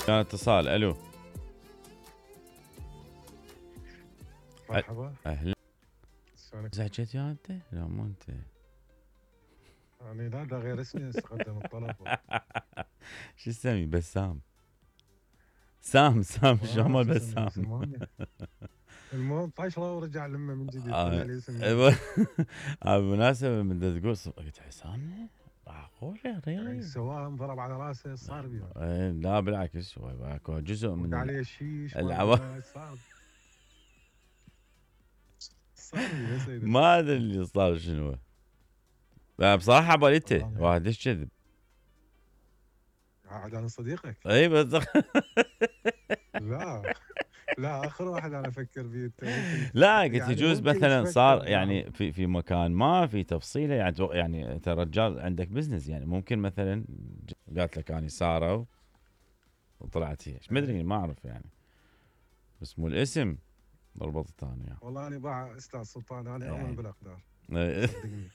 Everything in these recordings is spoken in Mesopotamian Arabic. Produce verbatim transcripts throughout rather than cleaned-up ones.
كان اتصال. الو مرحبا. اهلا. شلونك؟ زعجت يا انت؟ لا مو انت. يعني لا ده غير اسمي استخدم الطلب. شو اسمي؟ بسام. سام سام شو آه مال شو اسمه بسام. سماني. المهم طايش الله ورجع لمه من جديد طلع آه، لي اسم أيوة. جديد. آه، بالمناسبة من دا تقول ص- قلت حسام معقول يا يعني ريلي؟ سواء انضرب على راسه صار بيه. إيه، لا بالعكس هو اكو جزء من وقع ال- عليه الشيش العوا ما صار صار بيه بس هيدا. ما ادري اللي صار شنو. لا، بصراحة باليته والله واحد ليش كذب. عاد انا صديقك. اي بس لا لا اخر واحد انا افكر فيه انت ممكن. لا قلت يعني يجوز ممكن مثلا تفكر صار لا. يعني في في مكان ما في تفصيله يعني تو- يعني انت رجال عندك بزنس يعني ممكن مثلا ج- قالت لك اني ساره وطلعت هي ما ادري ما اعرف يعني بس مو الاسم ربطت انا يعني. والله انا باع استاذ سلطان انا اؤمن يعني. بالاقدار صدقني.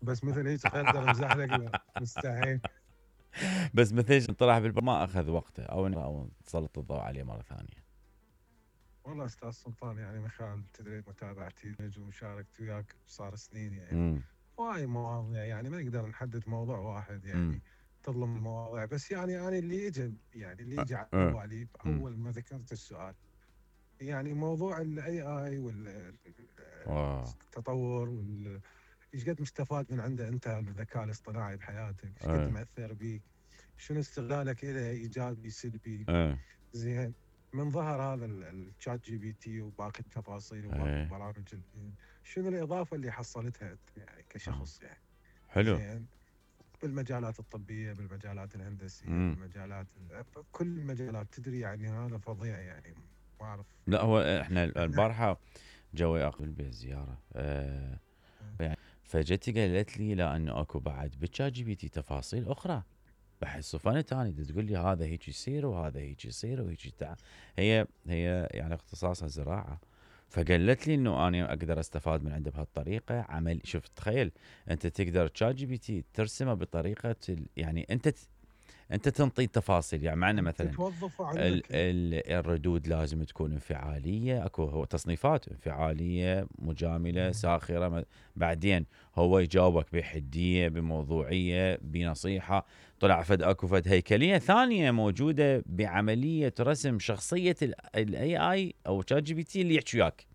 بس مثل هيك خير اقدر امزح لك لا مستحيل. بس مثل طلع بالب ما اخذ وقته او إن- او تسلط الضوء عليه مره ثانيه. والله استاذ سلطان يعني من خلال تدري متابعتي ومشاركتي وياك صار سنين يعني امم وايد مواضيع يعني ما نقدر نحدد موضوع واحد امم يعني تظلم المواضيع بس يعني انا اللي يجي يعني اللي يجي على أه. بالي أمم. اول ما ذكرت السؤال يعني موضوع الاي اي واو. والتطور وال ايش قد مستفاد من عنده انت الذكاء الاصطناعي بحياتك؟ ايش قد أه. مأثر بيك؟ شنو استغلالك له ايجابي سلبي؟ أه. زين من ظهر هذا الشات جي بي تي وباقي التفاصيل وباقي أه. البرامج ال- شنو الاضافه اللي حصلتها انت يعني كشخص يعني؟ حلو. زين بالمجالات الطبيه بالمجالات الهندسيه امم بالمجالات كل المجالات تدري يعني هذا فظيع يعني ما اعرف. لا هو احنا احنا البارحه جوي اقل البيت زياره أه يعني فجت قالت لي لا انه اكو بعد بالشات جي بي تي تفاصيل اخرى بحس صفنت اني تقول لي هذا هيك يصير وهذا هيك يصير وهيك تع... هي هي يعني اختصاصها زراعه فقالت لي انه انا اقدر استفاد من عنده بهالطريقه عمل شوف تخيل انت تقدر تشات جي بي تي ترسمه بطريقه ال... يعني انت ت... انت تنطي تفاصيل يعني معنا انت مثلا توظفه ال عندك. ال الردود لازم تكون انفعاليه اكو هو تصنيفات انفعاليه مجامله ساخره م- بعدين هو يجاوبك بحديه بموضوعيه بنصيحه طلع فد اكو فد هيكليه ثانيه موجوده بعمليه رسم شخصيه الاي اي او شات جي بي تي اللي يحكي وياك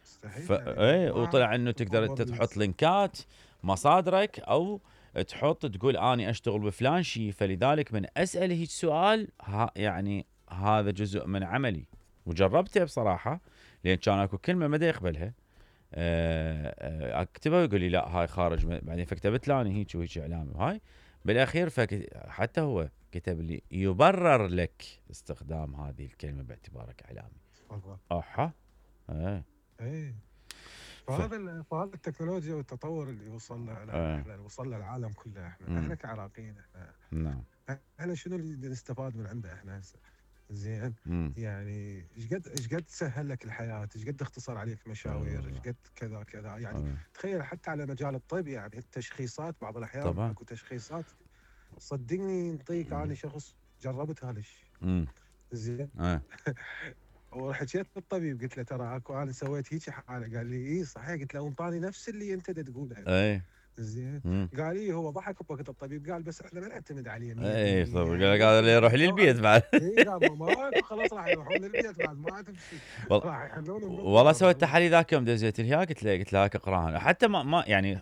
ف... مستحيل يعني ايه ما اعرف وطلع انه تقدر انت تطور تحط ال- لينكات مصادرك او تحط تقول اني اشتغل بفلان شيء فلذلك من اسال هيك سؤال ها يعني هذا جزء من عملي وجربته بصراحه لان كان اكو كلمه ما دا يقبلها آه، آه، اكتبها ويقول لي لا هاي خارج من- بعدين فكتبت له انا هيك وهيك اعلامي وهاي بالاخير فك... حتى هو كتب لي يبرر لك استخدام هذه الكلمه باعتبارك اعلامي. تفضل. اها. ايه. ايه ف... فهذا ال- فهذا التكنولوجيا والتطور اللي وصلنا له آه. احنا وصلنا العالم كله احنا مم. احنا كعراقيين احنا نعم. احنا شنو اللي نستفاد من عنده احنا هسه؟ زين مم. يعني ايش قد ايش قد سهل لك الحياه، ايش قد اختصر عليك مشاوير، ايش آه. قد كذا كذا يعني آه. تخيل حتى على مجال الطب يعني التشخيصات بعض الاحيان طبعا. اكو تشخيصات صدقني نعطيك مم. انا شخص جربت هذا الشيء. مم. زين آه. وحكيت بالطبيب قلت له ترى اكو انا سويت هيك حاله قال لي اي صحيح قلت له وانطاني نفس اللي انت دا تقوله. ايه. زين مم. قال لي هو ضحك بوقت الطبيب قال بس احنا ما نعتمد عليه ايه طب مية بالمية قال لك يعني هذا اللي راح يروح لي يحلون البيت بعد. اي قال ما ماكو خلاص راح يروحون للبيت بعد ما تمشي والله راح يحلون والله بالضبط سويت والله. تحاليل ذاك يوم دزيت لها قلت له قلت لها اقراها حتى ما, ما يعني